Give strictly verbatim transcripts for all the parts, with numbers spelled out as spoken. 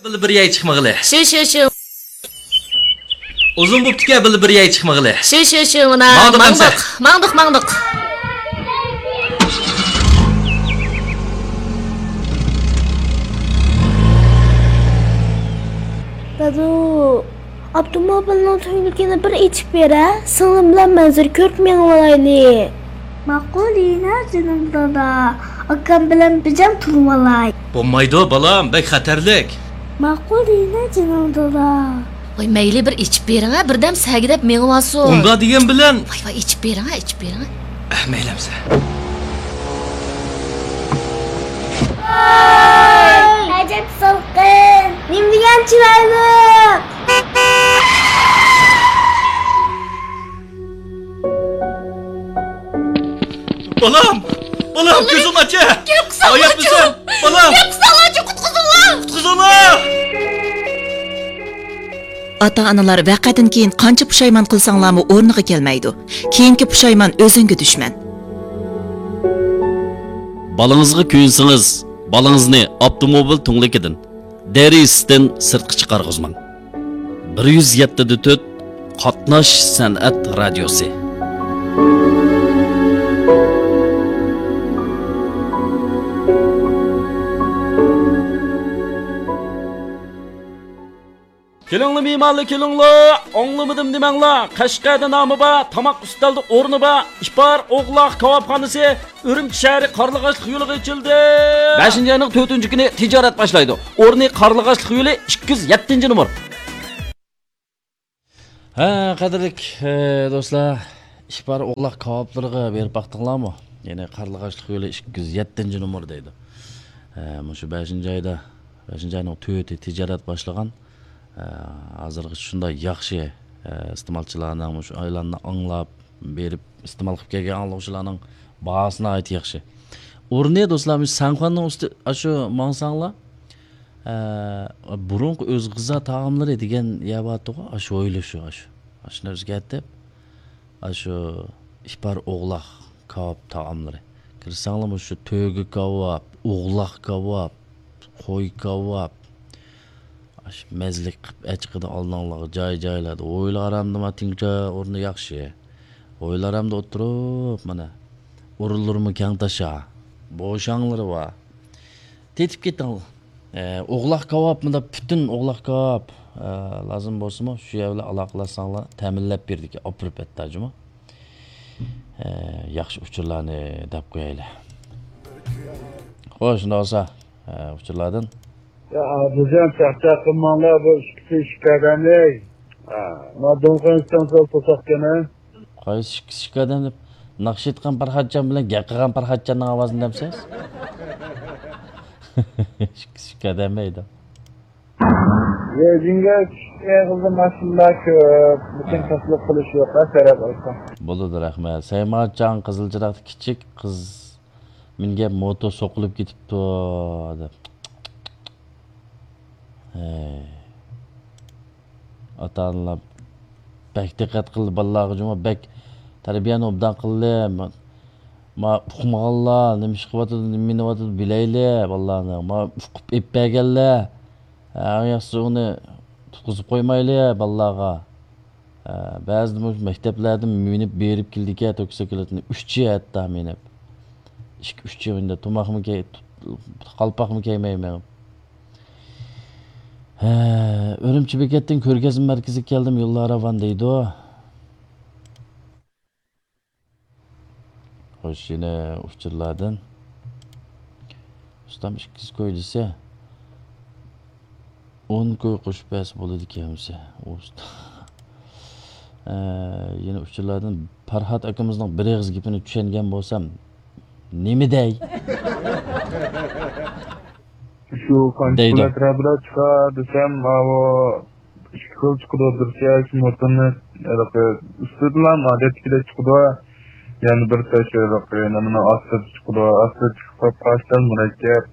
بىللە بىر يەي چىقمىغىلى. شۇ، شۇ، شۇ. ئۇزۇن بوپتىكەن بىللە بىر يەي چىقمىغىلى. شۇ، شۇ، شۇ، مانا. ماڭدۇق ماڭدۇق، ئەمسە. ماڭدۇق، ماڭدۇق. دادۇ، ئاپتوموبىلنىڭ تۈڭلۈكىنى بىر ئېچىپ بېرە، سىڭلىم بىلەن مەنزىرە كۆرۈپ مېڭىۋالايلى. ماقۇل يېنە جېنىم دادا، ئاكام بىلەن بىجام تۇرۇۋالاي. بولمايدۇ بالام، بەك خەتەرلىك. ماقۇل يېنە جېنىم دادا. ۋاي مەيلى بىر ئېچىپ بېرىڭە، بىردەم سەگىدەپ مېڭىۋالسۇن. ئۇنداق دېگەن بىلەن. ۋاي ۋاي ئېچىپ بېرىڭە، ئېچىپ بېرىڭە. ئەھ، مەيلى ئەمسە. ۋاي ئەجەب سالقىن، نېمە دېگەن چىرايلىق. بالام! بالام، كۆزۈڭنى ئاچە! گەپ قىلساڭلارچۇ! ئاياقلىسام! بالام! گەپ قىلساڭلارچۇ، قۇتقۇزۇڭلار! قۇتقۇزۇڭلار! ئاتا-ئانىلار ۋەقەدىن كېيىن قانچە پۇشايمان قىلساڭلارمۇ ئورنىغا كەلمەيدۇ. كېيىنكى پۇشايمان ئۆزۈڭگە دۈشمەن. بالىڭىزغا كۆيۈنسىڭىز، بالىڭىزنى ئاپتوموبىل تۈڭلۈكىدىن، دېرىزىسىدىن سىرتقا چىقارغۇزماڭ. بىر يۈز يەتتە دە تۆت، قاتناش سەنئەت رادىيوسى. كېلىڭلار مېھمانلار، كېلىڭلار! ئاڭلىمىدىم دېمەڭلار! قەشقەردە نامى بار، تاماق ئۈستەلدە ئورنى بار، ئىپار ئوغلاق كاۋاپخانىسى ئۈرۈمچى شەھىرى قارلىغاچلىق يولىغا ئېچىلدى. بەشىنچى ئاينىڭ تۆتىنچى كۈنى تىجارەت باشلايدۇ. ئورنى قارلىغاچلىق يولى ئىككى يۈز يەتتىنچى نومۇر. ھە، قەدىرلىك، ئە، دوستلار، ئىپار ئوغلاق كاۋاپلىرىغا بېرىپ باقتىڭلارمۇ؟ يەنى قارلىغاچلىق يولى ئىككى يۈز يەتتىنچى نومۇر دەيدۇ. ئە، مۇشۇ بەشىنچى ئايدا، بەشىنچى ئاينىڭ تۆتى تىجارەت باشلىغان. ئە، ھازىرغىچە شۇنداق ياخشى، ئە، ئىستېمالچىلارنىڭ مۇشۇ ئېلاننى ئاڭلاپ، بېرىپ ئىستېمال قىلىپ كەلگەن ئاڭلىغۇچىلارنىڭ باھاسى ناھايىتى ياخشى. ئورنى، دوستلار، مۇشۇ سەنخۇەننىڭ ئۈستى، ئاشۇ ماڭساڭلار، ئە، بۇرۇنقى ئۆزى غىزا تائاملىرى دېگەن يەر بارتىغۇ، ئاشۇ ھويلا شۇ، ئاشۇ. ئاشۇنى ئۆزگەرتىپ، ئاشۇ ئىپار ئوغلاق كاۋاپ تائاملىرى. كىرسەڭلار، مۇشۇ تۆگە كاۋاپ، ئوغلاق كاۋاپ، قوي كاۋاپ، ئاشۇ مەززىلىك قىلىپ ئەچىقىدۇ ئالدىڭلارغا جاي-جايلاردا. ھويلا ئارامدا ما تىڭچە ئورنى ياخشى. ھويلا ئارامدا ئولتۇرۇپ، مانا، ئورۇنلىرىمۇ كەڭ تاشا. بوشاڭلىرى بار. تېتىپ كېتىڭلار. ئە، ئوغلاق كاۋاپ، مۇنداق پۈتۈن ئوغلاق كاۋاپ، ئە، لازىم بولسىمۇ، شۇ يەر بىلەن ئالاقىلەشسەڭلار، تەمىنلەپ بېرىدىكەن، ئاپىرىپ ئەتتا جۇمۇ. ئە، ياخشى ئۇچۇرلارنى دەپ قويايلى. خوش، شۇنداق بولسا، ئە، ئۇچۇرلاردىن. يا، ئابدۇجان، چاقچاق قىلماڭلار، بۇ ئىككىسى ئىككى ئادەمنى. ھە، ما دۇڭخەن ئىستانسىدا توساقكەن، ھە؟ قايسى ئىككىسى ئىككى ئادەم دەپ، ناخشا ئېيتقان پەرھاتجان بىلەن گەپ قىلغان پەرھاتجاننىڭ ئاۋازىنى دەمسىز؟ ئىككىسى ئىككى ئادەم ئەيدە. يېزىڭگە چۈشكەن قىزىل ماشىنىلار كۆپ، لېكىن تەسلىك قىلىش يوق، ھە، سەرەپ ئالسا. بولىدۇ، رەھمەت. سەيمانجان قىزىل چىراغدا كىچىك قىز مىنگەن موتور سوقۇلۇپ كېتىپتۇ، دەپ. ھەي. ئاتا-ئانىلار بەك دىققەت قىلدى بالىلارغا جۇمۇ، بەك تەربىيەنى ئوبدان قىلدى. ما، ما ئۇقمىغانلار نېمە ئىش قىلىۋاتىدۇ، نېمە مىنىۋاتىدۇ بىلەيلى بالىلارنى. ما ئۇقۇپ ئېلىپ بەرگەنلەر، ھە، ئەڭ ياخشىسى ئۇنى تۇتقۇزۇپ قويمايلى بالىلارغا. ھە، بەزىدە مۇشۇ مەكتەپلەردىن مىنىپ بېرىپ كېلىدىكەن، توكسىكلىتنى ئۈچى ھەتتا مىنىپ. ئىككى، ئۈچى مىندە تۇماقمۇ كىي-، تۇ-، قالپاقمۇ كىيمەي مېڭىپ. ھە، ئۈرۈمچى بېكەتتىن كۆرگەزمە مەركىزىگە كەلدىم، يوللار راۋان دەيدۇ. خوش، يەنە ئۇچۇرلاردىن. ئۇستام ئىككىز كوي دېسە، ئون كوي قوشۇپ بەرسە بولىدىكەن ئەمىسە. ئۇستا-، ئە، يەنە ئۇچۇرلاردىن پەرھات ئاكىمىزنىڭ بىر ئېغىز گېپىنى چۈشەنگەن بولسام، نېمە دەي؟ شۇ قانچە دەيدۇ. پۇل ئەتراپىدا چىقار دېسەم، ماۋۇ ئىككى خىل چىقىدۇ، بىرسى شۇ موتورنى ھېلىقى ئۈستىدىلا ئادەتتىكىدەك چىقىدۇ، يەنە بىرسى شۇ ھېلىقى نېمىنى ئاستىدا چىقىدۇ، ئاستىدا چىقىپ قاپقاچتان مۇرەككەپ.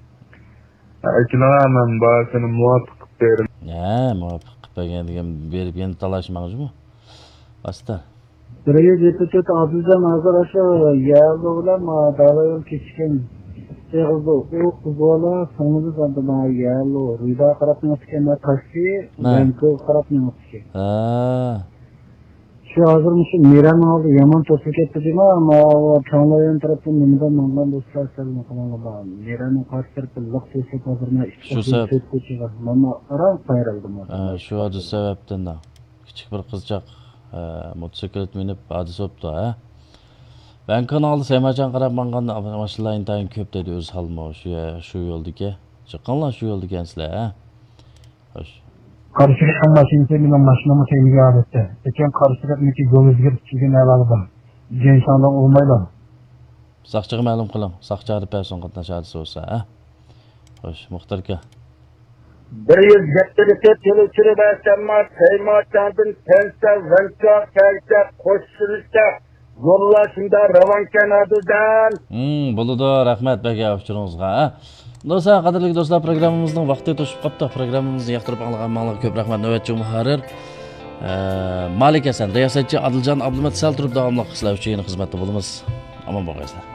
ئەكېلىڭە، مەن بارسىنى مۇۋاپىق قىلىپ بېرىمەن. ھە، مۇۋاپىق قىلىپ بەرگەن دېگەن بېرىپ يەنە تالاشماڭ جۇمۇ. ئاستا. بىر يۈز يەتتە تۆت ئابدۇلجان ھازىر ئاشۇ يەللۇ بىلەن دالا يول كېسىشكەن ئېغىزدا ئۇ قىز بالا سىڭلىمىز ئاندىما يەلو رىدا قاراپ مېڭىپتىكەن، تاشچى ۋەنكوغا قاراپ مېڭىپتىكەن. ھە. شۇ ھازىر مۇشۇ مىرەنىڭ ئالدى يامان توسۇپ كەتتى جۇما، ماۋۇ چوڭلايان تەرەپتىن نېمىدە ماڭغان دوستلار سەل قىلىڭلار. مىرەنىڭ قارشى تەرىپى لىق توسۇپ ھازىر مەن ئىككى شۇ قولدىن سەۋەب. تۆت كوچىغا مانا ئاران قايرىلدىم. ھە، شۇ ھادىسە سەۋەبتىن دا. كىچىك بىر قىزچاق، ھە، موتوسىكلىت مىنىپ ھادىسە بوپتۇ، ھە. ۋەنكونىڭ ئالدى سەيماچان قاراپ ماڭغان ماشىنىلار ئىنتايىن كۆپ دەيدۇ ئۆزى ھالمۇ شۇ، شۇ يولدىكى. چىقىڭلار شۇ يولدىكەنسىلەر، ھە. خوش. قارشى تەرەپنىڭ ماشىنىسى مېنىڭ ماشىنامغا تەگمىگەن ھالەتتە. لېكىن قارشى تەرەپنىڭكى يول ئۆزگىرىپ كەلگەن ئەھۋالى بار. جېنشاڭدىن ئۇرمايلا. ساقچىغا مەلۇم قىلىڭ. ساقچى ئايرىپ بەرسۇن قاتناش ھادىسە بولسا، ھە؟ خوش، مۇختەر ئاكا. بىر يۈز يەتتە لىتىر تېل ئۆچۈرۈپ بەرسەمما، سەيماچاندىن تەنسە، ۋەنچا، كەلسە، قوشۇلسا، يوللار شۇنداق راۋانكەن ھازىردىن. ھىم، بولىدۇ، رەھمەت، بەك ئۇچۇرىڭىزغا، ھە؟ دوستلار، قەدىرلىك دوستلار، پروگراممىمىزنىڭ ۋاقتى توشۇپ قاپتۇ. پروگراممىمىزنى ياقتۇرۇپ ئاڭلىغان ماڭلارغا كۆپ رەھمەت. نۆۋەتچى مۇھەررىر، ئە، مالىك ھەسەن، رىياسەتچى ئادىلجان ئابلىمەت سەل تۇرۇپ داۋاملىق سىلەر ئۈچۈن يەنە خىزمەتتە بولىمىز. ئامان بولغايسىلەر.